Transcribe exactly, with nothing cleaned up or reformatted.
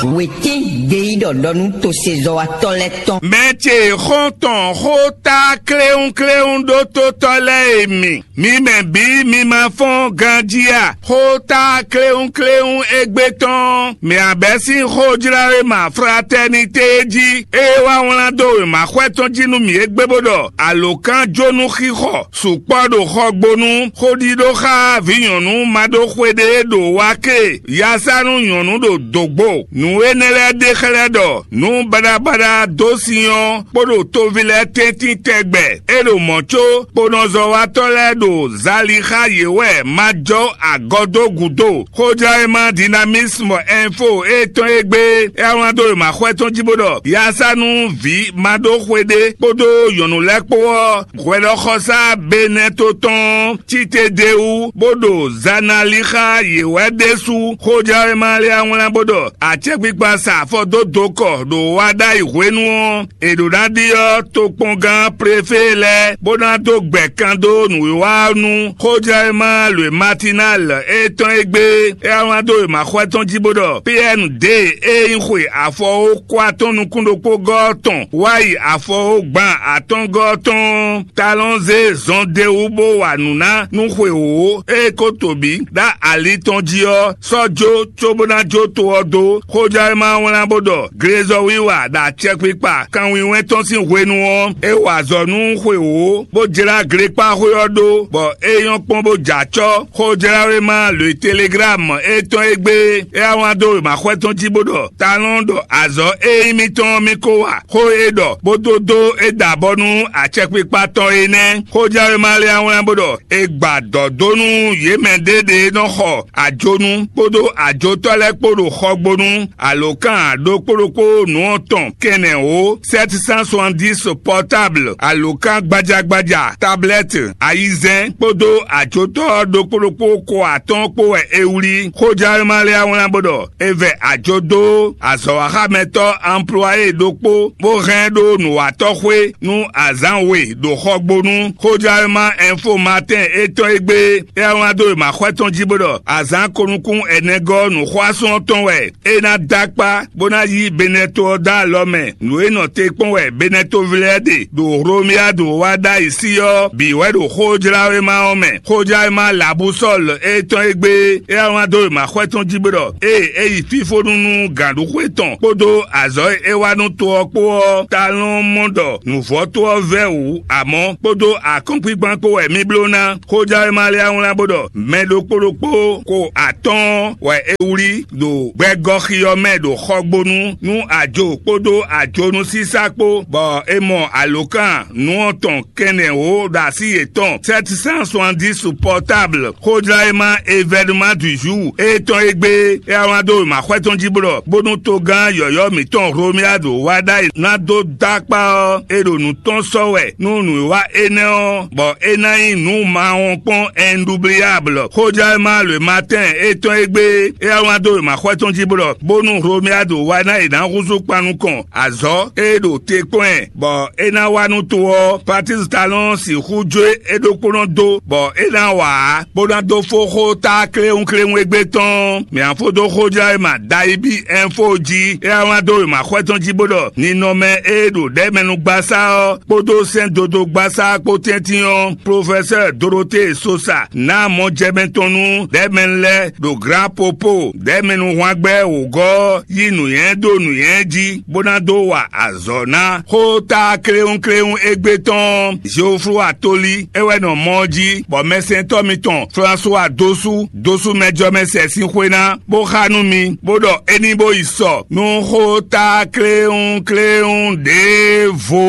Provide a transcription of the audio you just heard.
Wětín gbeyíɖɔ ɖɔ nú tosezɔ́watɔ́ lɛ́ɛ tɔn. Mɛ ce xɔ́ntɔn xó tá kléwúnkléwún ɖótótɔ́ lɛ́ɛ e mi, mi mɛ bǐ mi ma fɔ́n ganjí a? Xó tá kléwúnkléwún égbé tɔn, mɛ abɛ́ sín xójláwéma fratɛ́nité jí, é wá wlán dó wěma xwɛ tɔn jí nú mì égbé bó ɖɔ alǒkánjónú xixɔ sukpɔ́ ɖo xɔgbónú, xóɖiɖó xá vǐ nyɔ̌nu ma ɖó xwe ɖé ɖo wá ké, yasánú nyɔ̌nu ɖo dǒgbo. Nǔ énɛ́ lɛ́ɛ ɖe xlɛ́ ɖɔ nǔ baɖabaɖa dó sin ɔ́ kpó ɖo toví lɛ́ɛ tɛ́ntin tɛgbɛ. É ɖo mɔ̌ có kponɔzɔ́watɔ́ lɛ́ɛ ɖo zali xá yě wɛ ma jɔ agɔ dó gǔdo. Xójlawéma Dynamisme Info e tɔn e gbé é wlán dó wěma xwɛ tɔn jí bó ɖɔ yasánú vǐ ma ɖó xwe ɖé kpódó nyɔ̌nu lɛ́ɛ kpó ɔ́, hwɛɖɔxɔsá Benɛto tɔn cí te d'é wú, bó ɖo zana lí xá yě wɛ ɖésú. Xójlawéma lɛ́ɛ wlán bó ɖɔ acɛkpikpa sa afɔ dó dokɔ ɖo wa ɖ'ayǐ hwenu ɔ́, è ɖǒ ná ɖyɔ́ tokpɔngán prefé lɛ́ɛ bó ná dó gbɛ̌ kan dó nǔwiwa ɔ́ nú xójlawéma Lwe Matinal e tɔn e gbé é wlán dó wěma xwɛ tɔn jí bó ɖɔ P N D e nyí xwe afɔwókwa tɔn nukún ɖokpó gɔ́ ɔ́ tɔn wá yi afɔwógban atɔ́ngɔ́ tɔn talɔn zé zɔn d'é wú bó wa nǔ ná nú xwe wǒ e ko to bǐ ɖó ali tɔn jí ɔ́, sɔ́ jó cóbó ná jó to ɔ́ dó. Xójlawéma wlán bó ɖɔ glezɔ́wiwa ɖo acɛkpikpa kanwinwɛn tɔn sín hwenu ɔ́, é wa azɔ̌ nú xwe wǒ, bó jlá glekpáxwé ɔ́ ɖó, bɔ é nyɔ́ kpɔ́n bó jɛ acɔ́. Xójlawéma Lwe Teleglámu e tɔn e gbé é wá wlán dó wěma xwɛ tɔn jí bó ɖɔ talɔn ɖɔ azɔ̌ e nyí mitɔn ɔ́ mì ko wa. Xó e ɖɔ bó dó dó é da abɔ nú acɛkpikpa tɔn é nɛ́. Xójlawéma lɛ́ɛ wá wlán bó ɖɔ è gba dɔ̌ dó nú yě mɛ ɖěɖě e nɔ xɔ ajonu kpódó ajotɔ́ lɛ́ɛ kpó ɖo xɔgbónú. Alǒkan ɖokpó ɖokpó nǔ ɔ́ tɔn kɛnɛwǒ sept cent soixante-dix portable, alǒkan gbajagbaja, tablɛ́ti, ayizɛ́n kpódó ajotɔ́ ɖokpó ɖokpó ko atɔ́ɔ́n kpó wɛ è wlí. Xójlawéma lɛ́ɛ wá wlán bó ɖɔ è vɛ ajo dó azɔ̌waxámɛtɔ́ anplwayé ɖokpó bó hɛn ɖó nǔwatɔ́xwé nú azǎn we ɖo xɔgbónú. Xójlawéma Info Matin e tɔn e gbé é wá wlán dó wěma xwɛ tɔn jí bó ɖɔ azǎn ko nukún ɛnɛgɔ́ nǔxwásún ɔ́ tɔn wɛ é ná dó akpá bó ná yí Benɛto ɔ́ dó alɔ mɛ. Nǔ e nɔ te kpɔ́n wɛ Benɛtoví lɛ́ɛ ɖe ɖo Hlomyádu wá ɖ'ayǐ sí ɔ́ bǐ wɛ ɖo xójlawéma ɔ́ mɛ. Xójlawéma Labusɔ́lu e tɔn e gbé é wá wlán dó wěma xwɛ tɔn jí bó ɖɔ ée é yi fífónú nú gǎnɖuxwé tɔn kpódó azɔ̌ e é wa nú to ɔ́ kpó ɔ́, talɔn mɔ ɖɔ nǔvɔ́ to ɔ́ vɛ́ wǔ, amɔ̌ kpódó akɔ́nkpinkpan kpó wɛ mì bló ná. Xójlawéma lɛ́ɛ wá wlán bó ɖɔ mɛ ɖokpó ɖokpó ko atɔ́ɔ́n wɛ è wlí ɖo gbɛgɔ́xi ɔ́ mɛ ɖo xɔgbónú nú ajo kpódó ajonúsísá kpó, bɔ è mɔ alǒkan nǔ ɔ́ tɔn kɛnɛwǒ ɖo así yětɔn sept cent soixante-dix portable. Xójlawéma Événement du Jour e tɔn e gbé é wá wlán dó wěma xwɛ tɔn jí bó ɖɔ bónú togán yɔ̌yɔ́ mǐtɔn Hlomyádu wá ɖ'ayǐ ná dó dó akpá ɔ́, è ɖo nǔ tɔn sɔ́ wɛ nú nǔwiwa énɛ́ ɔ́, bɔ é ná nyí nǔ mawɔnkpɔ́n ɛnɖubliyáblɔ. Xójlawéma Lwe Matin e tɔn e gbé é wá wlán dó wěma xwɛ tɔn jí bó ɖɔ bónú Hlomyádu wá ná è nǎ húzú kpan nukɔn azɔ̌ e ɖo te kpɔ́n ɛ, bɔ é ná wá nú to ɔ́, Patísi Talɔ́n sixú jó é ɖokpónɔ dó, bɔ é ná wa ǎ, bó ná dó fó xó tá kléwúnkléwún égbé tɔn. Mǐ á fó dó xójlawéma Dayibí Ɛnfo jí, é wá wlán dó wěma xwɛ tɔn jí bó ɖɔ ninɔmɛ e ɖo ɖɛ̌mɛnugbasá ɔ́ kpódó sɛ́ndodógbasá kpó tɛ́ntin ɔ́, Plofɛsɛ́ɛ Dorote Sosa ná mɔjɛmɛ tɔn nú ɖɛ̌mɛnu lɛ́ɛ ɖo Glǎpopo ɖɛ̌mɛnuhwangbɛ́ wǒgɔ́ ɔ́ yí nǔnywɛ́ ɖó nǔnywɛ́ jí, bó ná dó wa azɔ̌ ná xó tá kléwúnkléwún égbé tɔn Zeoflu Atolí é wɛ nɔ mɔ ɔ́ jí, bɔ mɛsɛntɔ́ mitɔn Flasuwa dó sú dó sú mɛjɔmɛsɛ sín xwé ná, bó xá nú mi, bó ɖɔ é ní bó yi sɔ nú xó tá kléwúnkléwún ɖěvo.